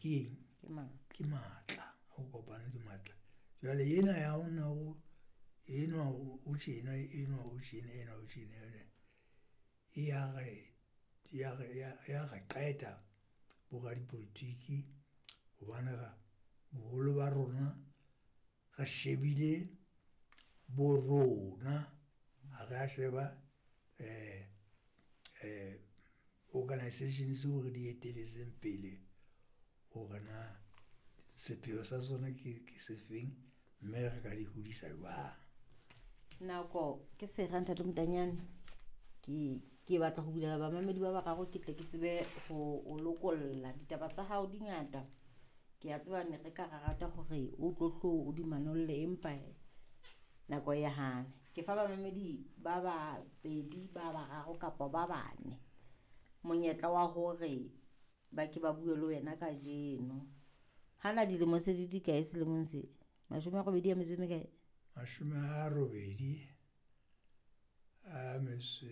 ke eng? Ke matla. Ho kopana ke matla. Jwale ena ya ho nna o enwa o tjena, enwa o tjena, enwa o tjena, enwa e ya re ya re ya re qeta bo radipolotiki hobane ra boholo ba rona re shebile bo rona, ha re a sheba organization tseo re di etelletseng pele hore na sepheo sa sona ke sefeng, mme re ka di hodisa jwang. Nako ke sera ntate Motanyane. Ke batla ho bulela bamamedi ba bararo ke tle ke tsebe ho o lokolla. Ditaba tsa hao di ngata. Ke a tseba ne re ka ra rata hore o tlo hlo o di manolle, empa nako e hane. Ke fa bamamedi ba babedi, ba bararo kapa ba bane monyetla wa hore ba ke ba bue le wena kajeno. Hana dilemo se di dikae selemong se? 88 a metso e mekae? 87 a metso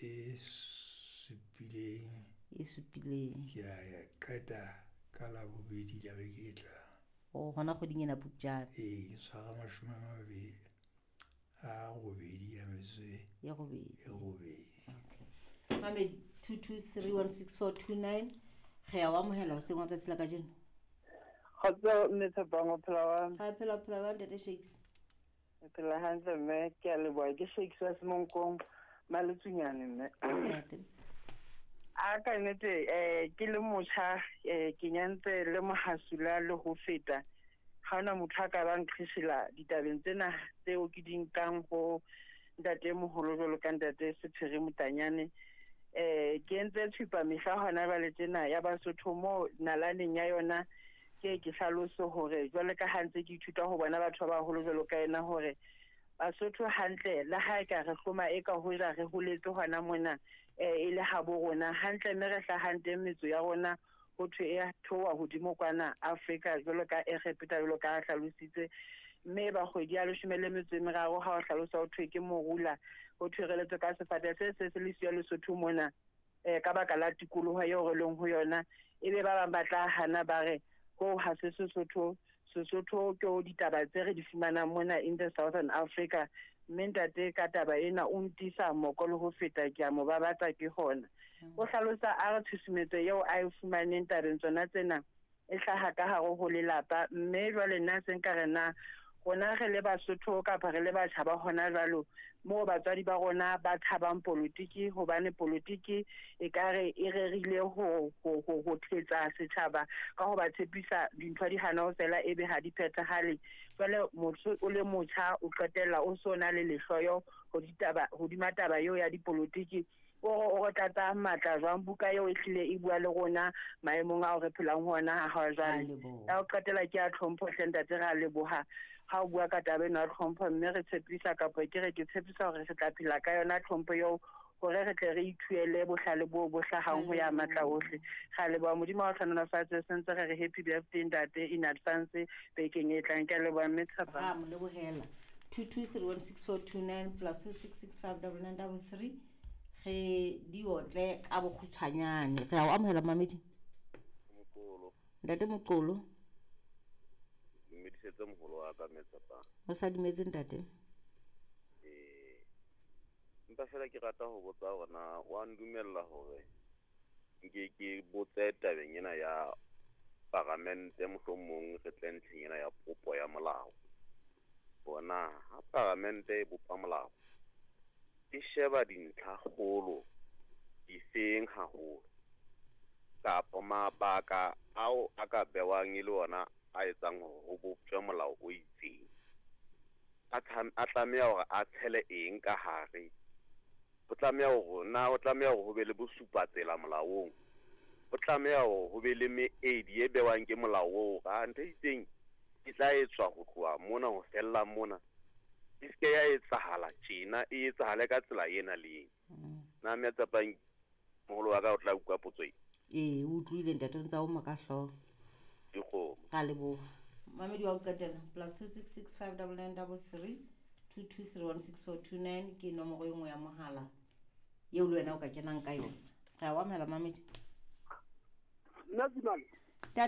e supileng. E supileng. Ke a qeta ka Labobedi la beke e tlang. Oh, hona kgweding ena Phupjane. Ee, ke tshwara 28 a metso e robedi. E robedi. Okay. Mamedi 22316429 re a o amohela hoseng wa tsatsi la kajeno. Kgotso mme Tshepang, o phela jwang? Ra phela, o phela jwang ntate Shakes? Ke phela hantle mme, ke a leboha. Ke Shakes wa Semonkong, Maletsunyane mme. Ntate. A ka nnete ke le motjha ke nyantse le mohasula le ho feta. Ha hona motho a ka bang qheshela ditabeng tsena tseo ke di nkang ho ntate moholo jwalo ka ntate Sephiri Motanyane. Ke entse tshupa mehla hona jwale tjena ya Basotho mo nalaneng ya yona ke ke hlalose hore jwale ka ha ntse ke ithuta ho bona batho ba baholo jwalo ka yena hore Basotho hantle le ha e ka re hloma e ka hoja re holetse hona mona e le habo rona hantle mme re hlahang teng metso ya rona ho thwe e theoha hodimo kwana Afrika jwalo ka Egepeta jwalo ka ha hlalositse mme ba kgwedi ya 13 ha o hlalosa ho thwe ke morula ho thwe re letswe ka sefate se se se le siyo Lesotho mona ka baka la tikoloho eo re leng ho yona ebe ba bang ba tla hana ba re ho ha se Sesotho. Sesotho ke ho ditaba tse re di fumanang mona in the Southern Africa mme ntate ka taba ena o ntisa moko le ho feta ke a mo babatsa ke hona. O hlalosa a re tshusumetso eo a e fumaneng tabeng tsona tsena e hlaha ka hare ho lelapa mme jwale nna se nka re na rona re le Basotho kapa re le batjha ba hona jwalo moo batswadi ba rona ba tshabang politiki hobane politiki e ka re e rerile ho thetsa setjhaba ka ho ba tshepisa dintho di hana ho fela ebe ha di phethahale. Jwale motho o le motjha o qetella o so na le lehloyo ho ditaba hodima taba eo ya dipolitiki. O re tlatsa matla jwang buka eo e hlile e bua le rona maemong ao re phelang ho ona ha jwale. Ya ho qetela ke a tlhompho hle ntate, re a leboha ha o bua ka taba ena ya tlhompho mme re tshepisa kapa ke re ke tshepisa hore re tla phela ka yona tlhompho eo hore re tle re ithuele bohlale bo bo hlahang ho ya matla ohle. Re a leboha Modimo wa hlohonolofatse, sentse re re happy birthday ntate in advance bekeng e tlang. Ke a leboha mme Tshepang. Ra mo lebohela. 22316429 plus 26659933 re di otle ka bokgutshwanyane. Re a o amohela mamedi. Moqolo. Ntate Moqolo. Dumedisetse moholo wa ka mme Tshepang. O sa dumetse ntate? Empa fela ke rata ho botsa hore na wa ndumella hore nke ke botse tabeng ena ya paramente, mohlomong re tle ntlheng ena ya popo ya molao. Bona ha paramente e bopa molao e sheba dintlha kgolo difeng haholo kapa mabaka ao a ka bewang e le ona a etsang hore ho boptjwe molao o itseng. A tlameha hore a tshele eng ka hare? Ho tlameha hore na ho tlameha hore ho be le bosupatsela molaong? Ho tlameha hore ho be le meedi e bewang ke molao oo ha ntho e itseng e tla etswa ho tloha mona ho fella mona. E se ya etsahala tjena, e etsahale ka tsela ena le ena. Na mme Tshepang moholo wa ka o tla utlwa potso e? Ee, o utlwile ntate, o ntse a oma ka hlooho. Dikgomo. Ra leboha. Mamedi wa ho qetela plus 26659933 22316429 ke nomoro e nngwe ya mohala eo le wena o ka kenang ka yona. Re a o amohela mamedi. Nna Zimane.